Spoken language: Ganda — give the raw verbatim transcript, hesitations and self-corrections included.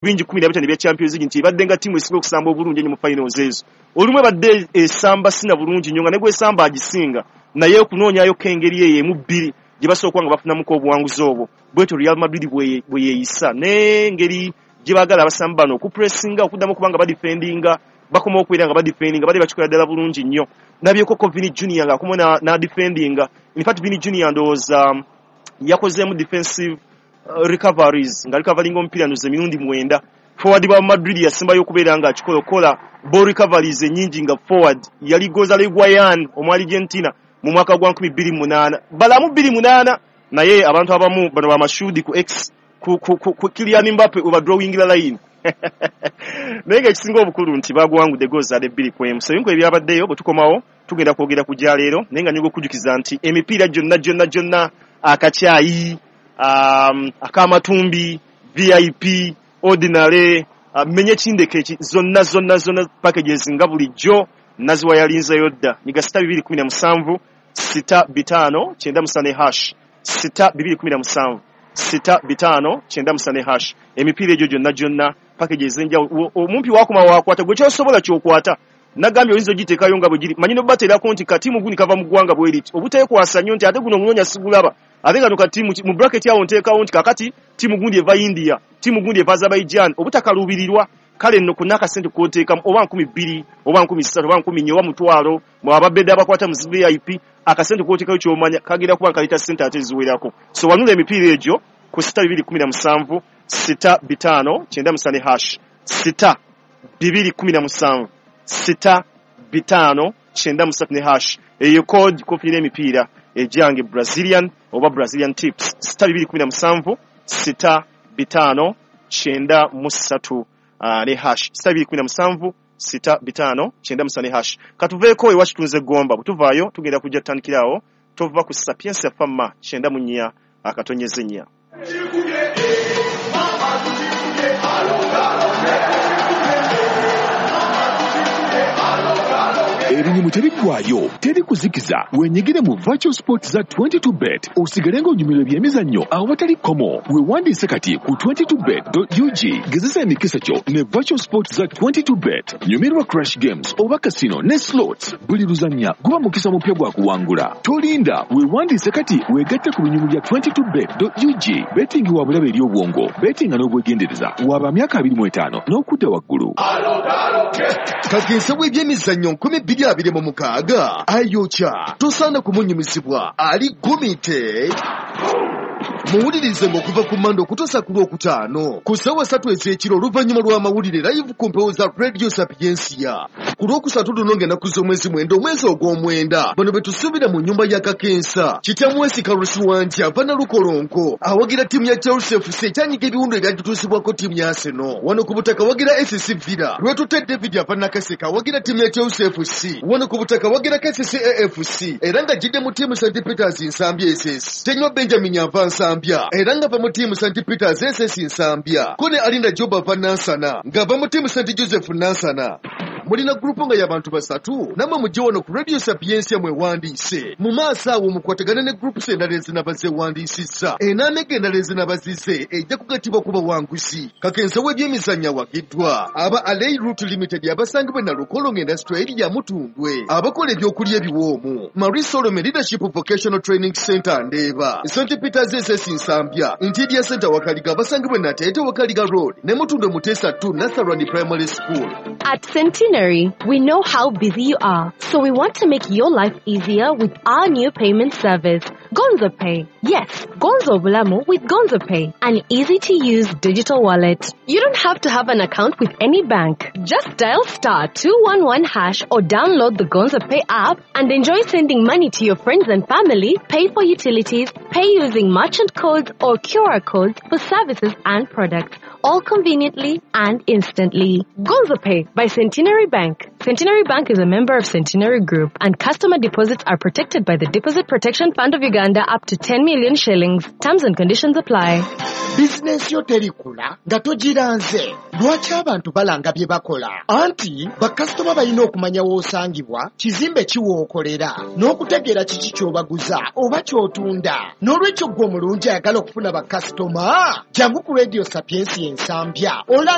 Bingi kumi na bitaano ebya Champions League nti ebadde nga ttiimu esinga okusamba obulungi ennyo mu finals ezo. Olumu ebadde esamba sina bulungi nnyo nga ne gwesamba agisinga, naye okunoonyayo engeri eyo emu bbiri gye basobola okuba nga bafunamuko obuwanguzi obwo. Bwetyo Real Madrid bwe yeeyisa n'engeri gye baagala abasamba bano okupressinga, okuddamu okuba nga badefendinga, bakoma okubeera nga badefendinga, bali bakikola ddala bulungi nnyo. Nabyeko ko Vini Junior ng'akoma n'adefendinga. In fact, Vini Junior ndowooza yakozeemu defensive uh, recoveries nga recoveringa omupiira ndoza emirundi mwenda. Forward wa Madrid yasembayo okubeera nga akikola okukola ball recoveries ennyingi nga forward yali Gonzalo Higuain omu Argentina mu mwaka gwa nkumi bbiri munaana balamu bbiri munaana. Naye abantu abamu bano bamashuudi ku X ku, ku, ku, ku Kylian Mbappe we badrawingira line, naye ng'ekisinga obukulu nti baguwangudde goals bbiri ku emu. So ebintu ebyabaddeyo, bwe tukomawo tugenda kwogera ku gyaleero, naye nga nyinga okujjukiza nti emipiira gyonna gyonna gyonna, akacyayi, um, ak'amatumbi, V I P, ordinary, uh, menye kindeke eki, zonna zonna zonna packages nga bulijjo naziwa yalinzeyo dda. Nyiga sita bibiri kumi na musanvu sita bitaano kyenda musane hash, sita bibiri kumi na musanvu sita bitaano kyenda musane hash. Emipiira egyo gyonna gyonna, packages ez'enjawulo, omumpi wakoma wakwata gwe kyosobola kyokwata. Nagambye oyinza ogiteekayo nga bwe giri, manyi nobateerako nti katiimu guni kava mu ggwanga bwe riti, obuteekwasa nnyo nti ate guno omunoonya sigulaba, ate kano katiimu mu bracket awo nteekawo nti kakati ttiimu gundi eva India, ttiimu gundi eva Azerbaijan, obutakaluubirirwa. Kale nno konna akasente koteekamu, oba nkumi bbiri oba nkumi ssatu oba nkumi nnya oba mutwalo, mwe ababedde abakwata mu V I P, akasente koteekayo kyomanya kagenda kuba nkaleeta ssente ate eziwerako. So wanula emipiira egyo ku sita bibiri kumi na musanvu sita bitaano kyenda musane hash, sita bibiri kumi na musanvu sita bitaano kyenda musatu ne hash. Eyo code kofunira emipiira egyange Brazilian oba Brazilian tips, sita bibiri kumi na musanvu sita bitaano kyenda mu ssatu uh, ne hash, sita bibiri kumi na musanvu sita bitaano kyenda musatu ne hash. Katuveeko ewa kitunze Gomba, bwe tuvaayo tugenda kujja tutandikirawo. Tova ku Sapiensia Fama kyenda mu nnya akatonyeze nnya. Ebinyumu tebiggwayo, teri kuzikiza. Wenyigire mu virtual sport za twenty-two bet, osigale ng'onyumirwa ebyemizannyo awatali kkomo. Weewandiise kati ku twenty-two bet dot U G. Gezesa emikisa kyo ne virtual sport za twenty-two bet. Nyumirwa crash games oba casino ne slots. Buli luzannya guba mukisa mupya gwa kuwangula. Tolinda, weewandiise kati weegatte ku binyumu bya twenty-two bet dot U G. Betting wa bulabe eri obwongo. Bettinga n'obwegendereza. Waba myaka abiri mu etaano n'okudda waggulu. Kakensa w'ebyemizannyo nkumi bbiri abiri mu mukaaga ayokya, tosaana kumunyumizibwa, ali gumite. Muwulirize ng'okuva ku Mande okutuusa ku Lwokutaano ku ssaawa ssatu ez'ekiro oluvannyuma lw'amawulire, live ku mpewo za Radio Sapiensia. Ku Lwokusatu luno ng'ennaku z'omwezi mwenda omwezi ogw'omwenda, bano be tusuubira mu nnyumba ya Kakensa: Kitamwesi Kalusiwanja ava Nalukolonko, awagira ttiimu ya Chelsea F C ekyanyiga ebiwundu ebyagituusibwako ttiimu ya Arsenal. Wano ku butaka wagira S C Villa. Lwetutte David ava Nakaseka, awagira ttiimu ya Chelsea F C. Wano ku butaka wagira K C C A F C era nga jjidde mu ttiimu Saint Peters Nsambya S S. Tenywa Benjamin ava Nsambya era nga va mu ttiimu Saint Peters S S Nsambya. Ko ne Alinda Job ava Nansana ng'ava mu ttiimu Saint Joseph Nansana. Mulina gurupu nga y'abantu basatu, nammwe mujje wano ku Radio Sapiensia mwewandiise. Mu maaso awo mukwatagane ne groups endala ezinaba zeewandiisizza. Enaamega endala ezinaba zize ejja kugattibwa ku bawanguzi. Kakensa w'ebyemizannyo awagiddwa aba Alei Root Limited abasangibwa e Nalukolongo Industrial Area Mutundwe, abakola ebyokulya ebiwoomu. Marie Solome Leadership Vocational Training Center Ndeeba, Saint Peters S S Nsambya, Interior Center Wakaliga abasangibwa e Nateete Wakaliga Road ne Mutundwe Muteesa two Nasarani Primary School. At Centenary, we know how busy you are, so we want to make your life easier with our new payment service, Gonzo Pay. Yes, Gonzo Bulamu with Gonzo Pay, an easy to use digital wallet. You don't have to have an account with any bank. Just dial star two one one hash or download the Gonzo Pay app and enjoy sending money to your friends and family, pay for utilities, pay using merchant codes or Q R codes for services and products, all conveniently and instantly. Gonzo Pay by Centenary Bank. Centenary Bank is a member of Centenary Group and customer deposits are protected by the Deposit Protection Fund of Uganda up to ten million shillings. Terms and conditions apply. Bizinensi yo terikula nga togiranze. Lwaki abantu balanga bye bakola? Anti bakasitoma balina okumanya w'osangibwa, kizimbe ki w'okolera, n'okutegeera kiki ky'obaguza oba ky'otunda. N'olwekyo ggwe omulungi ayagala okufuna bakasitoma, jangu ku Radio Sapientia Ensambya. Olanga